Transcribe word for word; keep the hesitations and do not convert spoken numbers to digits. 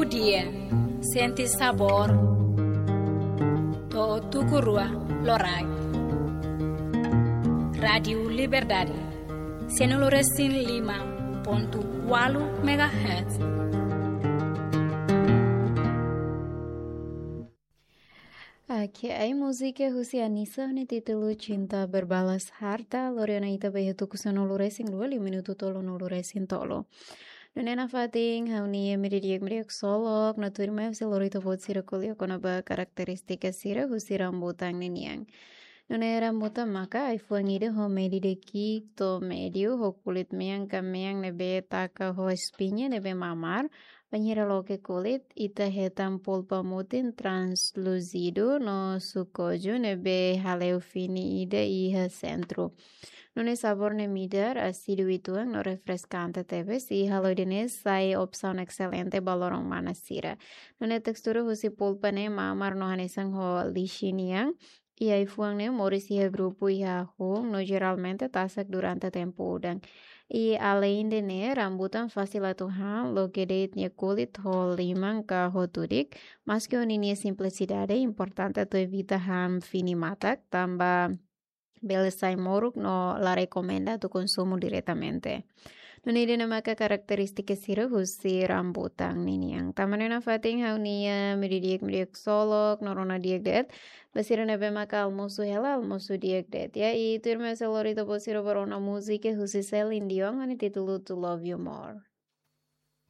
Dia, sente sabór. To'o tuku rua loraik. Rádiu Liberdade, sianulu resin lima pontu ualu megahertz. Oke, ai múzika husi Anisa ne'e títulu Cinta Berbalas Harta, lori ona ita ba iha tuku sanulu resin rua, liu minutu tolunulu resin tolu. Nune'e nafatin ha'u-nia media media solok, no tuirmai husi lori ita-boot sira ko'alia kona-ba karakterístika sira husi rambutan ninian. Nune'e rambutan maka ai-fuan ida ho medida ki'ik to'o médiu, ho kulit mean ka mean ne'ebé taka ho espiña ne'ebé mamar, bainhira loke kulit, ita hetan polpa mutin translúzidu no sukoju ne'ebé hale'u fini ida iha sentru. Nune'e sabór ne'e midar, asídiu uitoan no refreskante tebes, i halo ida-ne'e sai opsaun excelente ba loron manas sira. Nune'e testura husi polpa ne'e mamar no hanesan ho lixi nian, i ai-fuan ne'e moris iha grupu iha hun no jeralmente tasak durante tempu udan. I aleinde ne'e, rambutan fasil atu han, loke de'it nia kulit ho liman ka ho tudik, maski ho ninia simplisidade, importante atu evita han fini matak, tanba bele sai moruk no la rekomenda atu konsumu diretamente. Nune'e ida-ne'e maka karakterístika sira husi rambutan ninian. Tanba ne'e nafatin ha'u-nia media di'ak, media solok, no rona di'ak de'it. Ba sira ne'ebé maka almosu hela, almosu di'ak de'it. Ya, i tuirmai husi lori ita-boot sira ba rona múzika husi Celine Dion, ho nia títulu To Love You More.